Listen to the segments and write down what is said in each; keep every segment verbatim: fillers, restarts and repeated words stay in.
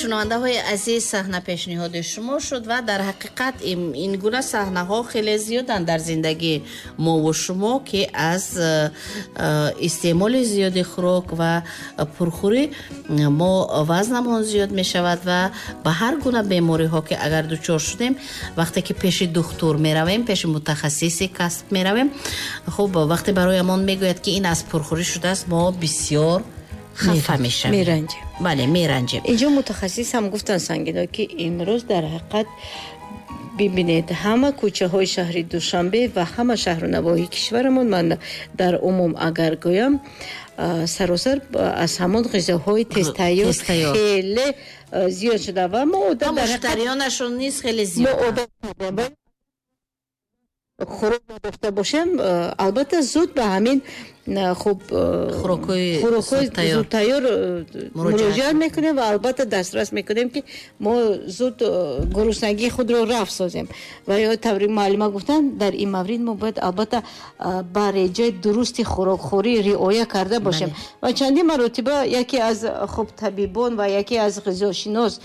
Шунавандаҳои азиз, саҳна пешниҳоди шумо шуд ва дар ҳақиқат ин гуна саҳнаҳо хеле зиёданд дар зиндагии мо ва шумо, ки аз истеъмоли зиёди хӯрок ва пурхӯрӣ мо вазнамон зиёд мешавад ва ба ҳар гуна бемориҳо ки агар дучор шудем, вақте ки пеши духтур меравем, пеши мутахассиси касб меравем, хуб вақте бароямон мегӯяд ки ин аз пурхӯрӣ шудааст, мо бисёр хафа мешавем, меранҷем. Бале, меранҷем. Инҷо мутахассис ҳам гуфтанд, Сангино, ки имрӯз дар ҳақиқат бибинед, ҳама кӯчаҳои шаҳри Душанбе ва ҳама шаҳру навоҳии кишварамон, ман дар умум агар гӯям, саросар аз ҳамон ғизоҳои тезтайёр хеле зиёд шуда ва мо одат дар муштариёнашон низ хеле зиёд. Мо одат хӯрок надошта бошем, албатта зуд ба ҳамин хуб хӯрокҳои зудтайёр муроҷиат мекунем ва албатта дастрас мекунем, ки мо зуд гуруснагии худро рафъ созем. Ва ё таври муаллима гуфтанд, дар ин маврид мо бояд албатта ба реҷаи дурусти хӯрокхӯрӣ риоя карда бошем. Ва чандин маротиба яке аз хуб табибон ва яке аз ғизошинос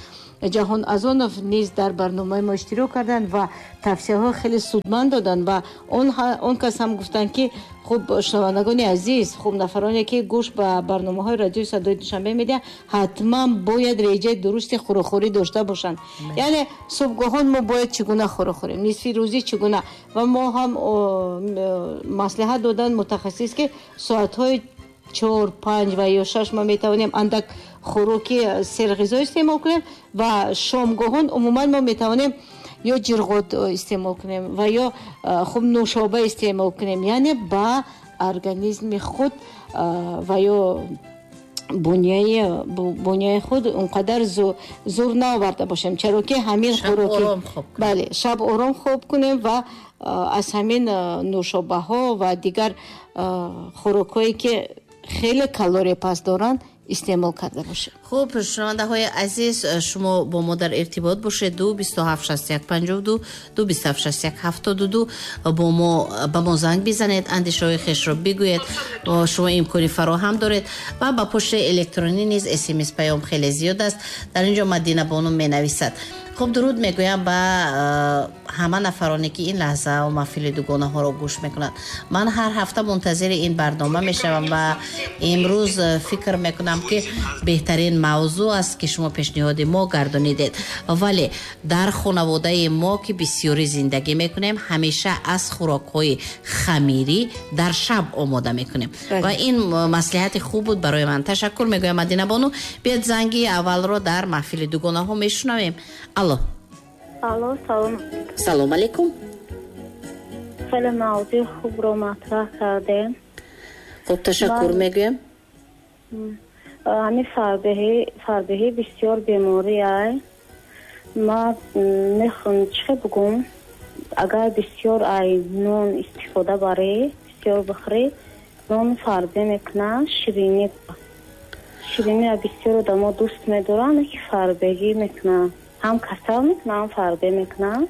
Ҷаҳон Азонов низ дар барномаи мо иштирок карданд ва тавсияҳои хеле судманд доданд ва он кас ҳам гуфтанд, ки хуб шунавандагони азиз, хуб нафароне ки гӯш ба барномаҳои радиои садои Душанбе медиҳанд, ҳатман бояд реҷаи дурусти хӯрокхӯрӣ дошта бошанд. Яъне субҳгоҳон мо бояд чӣ гуна хӯрок хӯрем, нисфи рӯзӣ чӣ гуна, ва мо ҳам маслиҳат доданд мутахассис, ки соатҳои чор, панҷ ва ё шаш мо метавонем андак хӯроки серғизо истеъмол кунем ва шомгоҳон умуман мо метавонем ё ҷирғот истеъмол кунем ва ё хуб нӯшоба истеъмол кунем, яъне ба организми худ ва ё буняи буняи худ он қадар зур наоварда бошем, чаро ки ҳамин хӯроки бале, шаб ором хоб кунем ва аз ҳамин нӯшобаҳо ва дигар хӯрокҳое ки хеле калория паст доранд истеъмол карда бошем. Хуб, шунавандаҳои азиз, шумо бо мо дар иртибот бошед. Ду бисту ҳафт шасту як панҷоҳу ду, ду бисту ҳафт шасту як ҳафтоду ду, бо мо ба мо занг бизанед, андешаҳои хешро бигӯед, шумо имкони фароҳам доред ва ба пошти электронӣ низ смс паём хеле зиёд аст. Дар инҷо Мадина бону менависад: хуб, дуруд мегӯям ба ҳама нафароне ки ин лаҳза маҳфили дугонаҳоро гӯш мекунанд. Ман ҳар ҳафта мунтазири ин барнома мешавам ва имрӯз фикр мекунам ки беҳтарин мавзӯъ аст ки шумо пешниҳоди мо гардонидед. Вале дар хонаводаи мо ки бисёрӣ зиндагӣ мекунем, ҳамеша аз хӯрокҳои хамирӣ дар шаб омода мекунем ва ин маслиҳати хуб буд барои ман. Ташаккур мегӯям, Мадина бону. Биёд занги аввалро дар маҳфили дугонаҳо мешунавем. Алло. Алло, салом. Салом алейкум. Хеле мавзӯи хубро матраҳ кардем. Хуб, ташаккур мегӯям. Ҳамин фарбеҳӣ, фарбеҳӣ бисёр беморӣ ай. Ман мехоҳам чӣ бигӯм, агар бисёр ай нон истифода барӣ, бисёр бихӯрӣ, нон фарбе мекунад, ширинӣ. Ширинӣ бисёр одамо дӯст медоранд, ки фарбегӣ мекунанд. Ҳам касал мекунам, ҳам фарбе мекунам.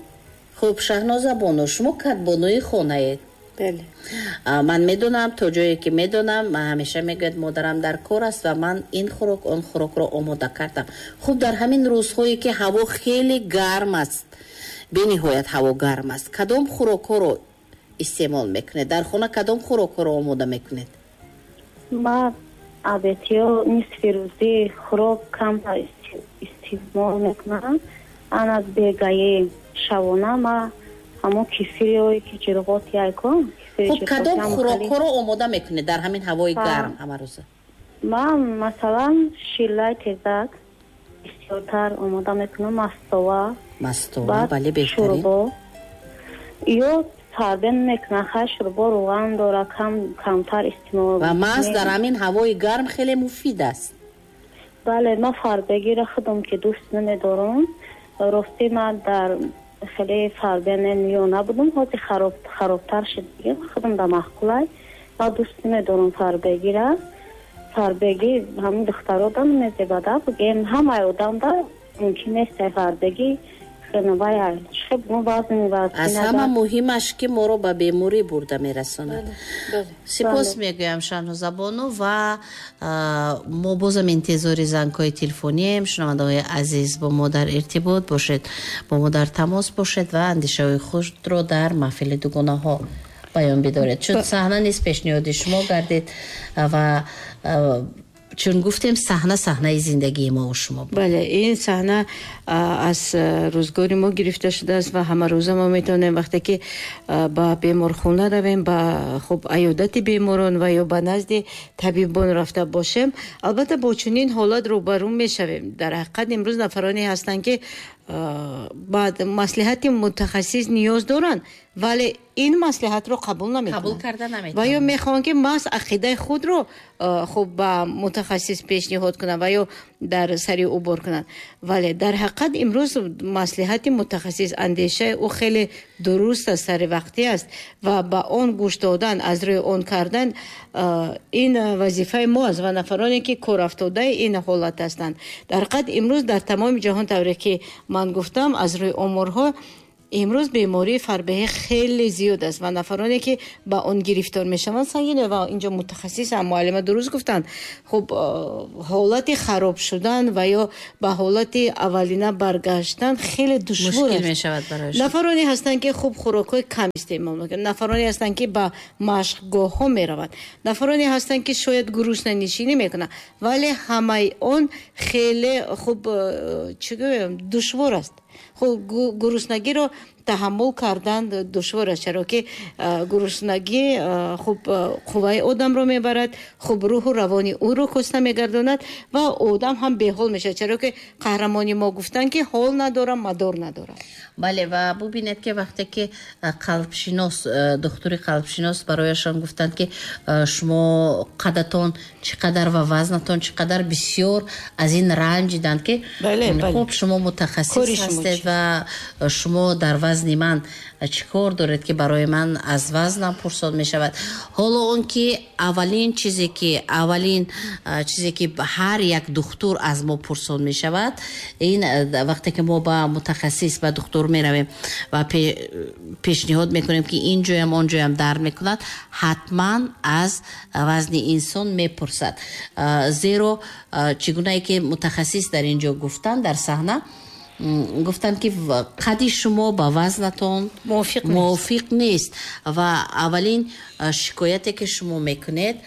Хуб, Шаҳноза бону, шумо кадбонуи хонаед. Бале. Ман медонам, то ҷое ки медонам, ҳамеша мегӯяд модарам дар кор аст ва ман ин хӯрок, он хӯрокро омода кардам. Хуб, дар ҳамин рӯзҳое ки ҳаво хеле гарм аст, бениҳоят ҳаво гарм аст, кадом хӯрокҳоро истеъмол мекунед? Дар хона кадом хӯрокҳоро омода мекунед? Ман обедиё нисфи рӯзӣ хӯрок камтар истеъмол мекунам. Ана бегаи шабона ма ҳамон кефирҳое ки ҷирғот яйкон. Хуб, кадом хӯрокҳоро омода мекунед дар ҳамин ҳавои гарм ҳамарӯза? Ман масалан шиллаи тезак бисёртар омода мекунам, мастова. Мастова, бале, беҳтарин. Шӯрбо. Ё фарбе мекунам, хай шӯрбо равған дора, кам камтар истеъмол. Ва маҳз дар ҳамин ҳавои гарм хеле муфид аст. Бале, ман фарбегиро худам ки дӯст намедорам. Рости ман дар хеле фарбе миёна будам, ҳозир хароб харобтар шуд, худам да маъқулай. Ман дӯст намедорам фарбегиро. Фарбегӣ ҳамин духтаро да намезебада, бигем ҳамаи одам да мумкин нест фарбегӣ. Аз ҳама муҳимаш ки моро ба беморӣ бурда мерасонад. Сипос мегӯям Шаҳнозабону ва мо бозам интизори зангҳои телефонием. Шунавандаҳои азиз, бо мо дар иртибот бошед, бо мо дар тамос бошед ва андешаҳои худро дар маҳфили дугонаҳо баён бидоред, чун саҳна низ пешниҳоди шумо гардид ва чун гуфтем саҳна саҳнаи зиндагии мо ва шумо буд. Бале, ин саҳна аз рӯзгори мо гирифта шудааст ва ҳамарӯза мо метавонем вақте ки ба беморхона равем, ба хуб аёдати беморон ва ё ба назди табибон рафта бошем, албатта бо чунин ҳолат рӯбарӯ мешавем. Дар ҳақиқат имрӯз нафароне ҳастанд ки ба маслиҳати мутахассис ниёз доранд, вале ин маслиҳатро қабул намекунанд, қабул карда наметавонанд ва ё мехоҳанд ки маҳз ақидаи худро хуб ба мутахассис пешниҳод кунанд ва ё дар сари ӯ бор кунанд. Вале дар ҳақиқат имрӯз маслиҳати мутахассис, андешаи ӯ хеле дуруст аст, саривақтӣ аст ва ба он гӯш додан, аз рӯи он кардан ин вазифаи мо аст ва нафароне ки корафтодаи ин ҳолат ҳастанд. Дар ҳақиқат имрӯз дар тамоми ҷаҳон, тавре ки ман гуфтам, аз рӯи оморҳо имрӯз бемории фарбеҳӣ хеле зиёд аст ва нафароне ки ба он гирифтор мешаванд сангин ва инҷо мутахассис ҳам муаллима дуруст гуфтанд. Хуб, ҳолати хароб шудан ва ё ба ҳолати аввалина баргаштан хеле душвор аст, мешавад барояшон. Нафароне ҳастанд ки хуб хӯрокҳои кам истеъмол мекунанд, нафароне ҳастанд ки ба машқгоҳҳо мераванд, нафароне ҳастанд ки шояд гуруснанишинӣ мекунанд, вале ҳамаи он хеле хуб чӣ гӯям душвор аст. Хуб, гуруснагиро таҳаммул кардан душвор аст, чаро ки гуруснагӣ хуб қувваи одамро мебарад, хуб рӯҳу равони ӯро коста мегардонад ва одам ҳам беҳол мешавад, чаро ки қаҳрамони мо гуфтанд ки ҳол надорам, мадор надорам. Бале, ва бубинед ки вақте ки қалбшинос, духтури қалбшинос барояшон гуфтанд ки шумо қадатон чӣ қадар ва вазнатон чӣ қадар, бисёр аз ин ранҷиданд ки хуб шумо мутахассис ҳастед ва шумо дар вазни ман чӣ кор доред ки барои ман аз вазнам пурсон мешавад. Ҳоло он ки аввалин чизе ки аввалин чизе ки ҳар як духтур аз мо пурсон мешавад, ин вақте ки мо ба мутахассис, ба духтур меравем ва пешниҳод мекунем ки ин ҷоям он ҷоям дард мекунад, ҳатман аз вазни инсон мепурсад. Зеро чӣ гунае ки мутахассис дар ин ҷо гуфтанд дар саҳна, гуфтанд ки қади шумо ба вазнатон мувофиқ нест ва аввалин шикояте ки шумо мекунед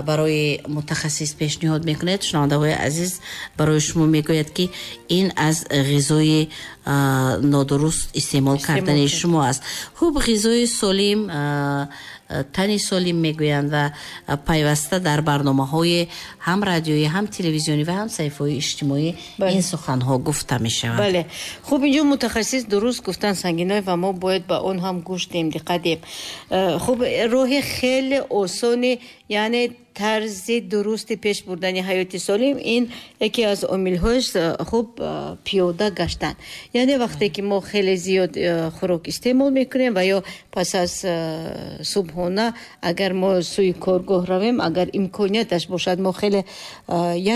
барои мутахассис пешниҳод мекунед, шунавандаҳои азиз, барои шумо мегӯяд ки ин аз ғизои нодуруст истеъмол кардани шумо аст. Хуб, ғизои солим, тани солим мегӯянд ва пайваста дар барномаҳои ҳам радиоӣ, ҳам телевизионӣ ва ҳам саҳифаҳои иҷтимоӣ ин суханҳо гуфта мешаванд. Бале, хуб, инҷо мутахассис дуруст гуфтанд Сангиной ва мо бояд ба он ҳам гӯш диҳем, диққат диҳем. Хуб, роҳи хеле осони, яъне тарзи дурусти пеш бурдани ҳаёти солим, ин яке аз омилҳояш хуб пиёда гаштан. Яъне вақте ки мо хеле зиёд хӯрок истеъмол мекунем ва ё пас аз субҳона агар мо сӯи коргоҳ равем, агар имконияташ бошад, мо хеле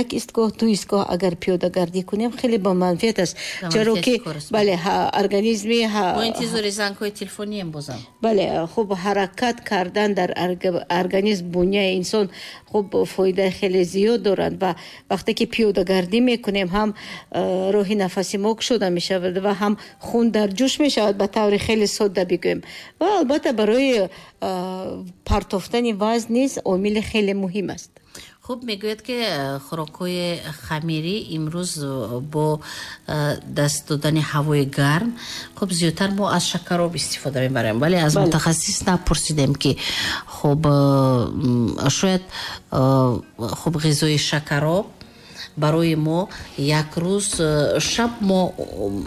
як истгоҳ, ду истгоҳ агар пиёдагардӣ кунем, хеле ба манфиат аст, чаро ки бале, организми мо интизори зангҳои телефонием бозам. Бале, хуб, ҳаракат кардан дар организм, буняи инсон хуб фоидаи хеле зиёд доранд ва вақте ки пиёдагардӣ мекунем, ҳам роҳи нафаси мо кушода мешавад ва ҳам хун дар ҷӯш мешавад, ба таври хеле содда бигӯем. Ва албатта барои партофтани вазн низ омили хеле муҳим аст. Хуб, мегӯяд ки хӯрокҳои хамирӣ имрӯз бо даст додани ҳавои гарм хуб зиёдтар мо аз шакароб истифода мебарем, вале аз мутахассис напурсидем ки хуб шояд хуб ғизои шакароб барои мо як рӯз шаб мо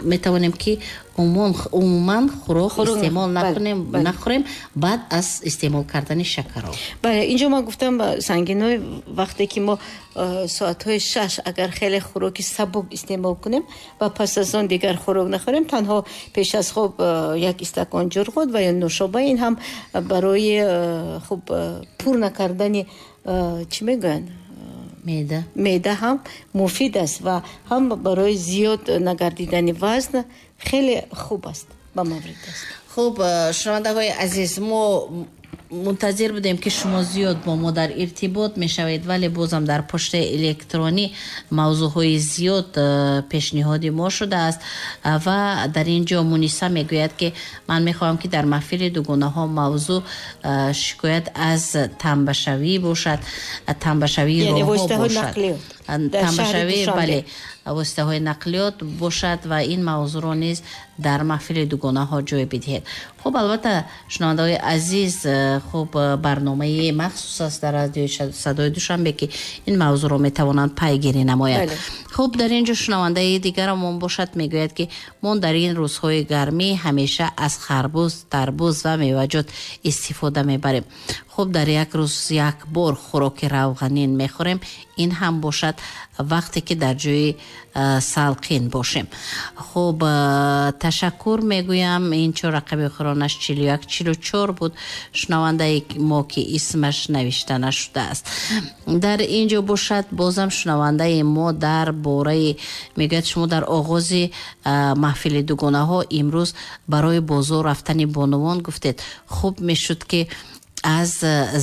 метавонем ки умуман хӯрок истеъмол накунем, нахӯрем баъд аз истеъмол кардани шакароб. Бале, инҷо ман гуфтам Сангиной, вақте ки мо соатҳои шаш агар хеле хӯроки сабук истеъмол кунем ва пас аз он дигар хӯрок нахӯрем, танҳо пеш аз хоб як истакон ҷурғот ва ё нӯшоба, ин ҳам барои хуб пур накардани чӣ мегӯянд, меъда меъда ҳам муфид аст ва ҳам барои зиёд нагардидани вазн хеле хуб аст, ба маврид аст. Хуб, шунавандаҳои азиз, мо мунтазир будем ки шумо зиёд бо мо дар иртибот мешавед, вале бозам дар почтаи электронӣ мавзӯъҳои зиёд пешниҳоди мо шудааст ва дар ин ҷо Муниса мегӯяд ки ман мехоҳам ки дар маҳфили дугонаҳо мавзӯъ шикоят аз танбашавӣ бошад, танбашавии роҳҳо бошад, танбашавӣ, бале, воситаҳои нақлиёт бошад ва ин мавзӯъро низ дар маҳфили дугонаҳо ҷой бидиҳед. Хуб, албатта, шунавандаҳои азиз, хуб, барномаи махсус аст дар радиои Садои Душанбе ки ин мавзӯъро метавонанд пайгирӣ намоянд. Хуб, дар ин ҷо шунавандаи дигарамон бошад, мегӯяд ки мо дар ин рӯзҳои гармӣ ҳамеша аз харбуз, тарбуз ва меваҷот истифода мебарем. Хуб, дар як рӯз як бор хӯроки равғанин мехӯрем, ин ҳам бошад вақте ки дар ҷои салқин бошем. Хуб, ташаккур мегӯям. Ин чор рақами охиронаш чилу як чилу чор буд, шунавандаи мо ки исмаш навишта нашудааст. Дар ин ҷо бошад бозам шунавандаи мо дар бораи мегӯяд, шумо дар оғози маҳфили дугонаҳо имрӯз барои бозор рафтани бонувон гуфтед, хуб мешуд ки аз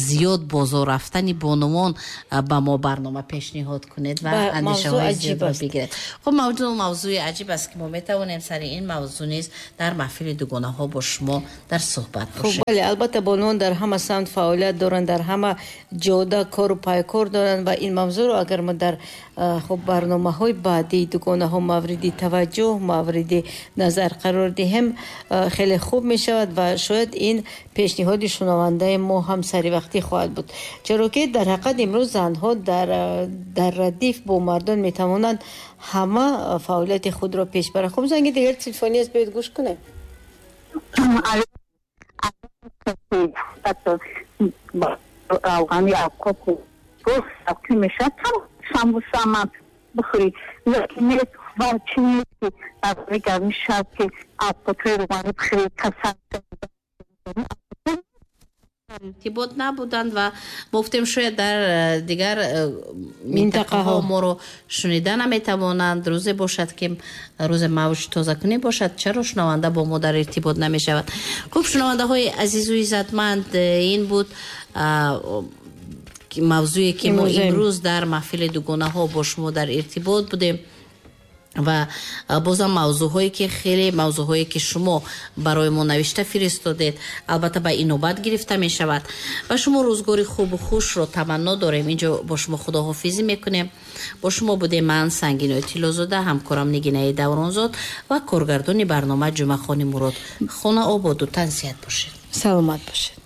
зиёд бозор рафтани бонувон ба мо барнома пешниҳод кунед ва андешаҳои зиёдро бигиред. Хуб, мавзӯъ мавзӯи аҷиб аст ки мо метавонем сари ин мавзӯъ низ дар маҳфили дугонаҳо бо шумо дар суҳбат бошем. Бале, албатта, бонувон дар ҳама самт фаъолият доранд, дар ҳама ҷода кору пайкор доранд ва ин мавзӯъро агар мо дар хуб барномаҳои баъдии дугонаҳо мавриди таваҷҷӯҳ, мавриди назар қарор диҳем, хеле хуб мешавад ва шояд ин пешниҳоди шунавандаи мо ҳам саривақтӣ хоҳад буд, чаро ки дар ҳақиқат имрӯз занҳо дар дар радиф бо мардон метавонанд ҳама фаъолияти худро пеш баранд. Хуб, занги дигар телефонӣ аст, биёед гӯш кунем. Иртибот набуданд ва мо гуфтем шояд дар дигар минтақаҳо моро шунида наметавонанд. Рӯзе бошад ки рӯзе мавҷ тозакунӣ бошад, чаро шунаванда бо мо дар иртибот намешавад? Хуб, шунавандаҳои азизу иззатманд, ин буд мавзӯе ки мо имрӯз дар маҳфили дугонаҳо бо шумо дар иртибот будем ва бозам мавзӯъҳое ки хеле мавзӯъҳое ки шумо барои мо навишта фиристодед, албатта ба инобат гирифта мешавад. Ба шумо рӯзгори хубу хушро таманно дорем. Инҷо бо шумо худоҳофизӣ мекунем. Бо шумо будем ман, Сангинои Тиллозода, ҳамкорам Нигинаи Давронзод ва коргардони барнома Ҷумъахони Мурод. Хона ободу тансиҳат бошед. Саломат бошед.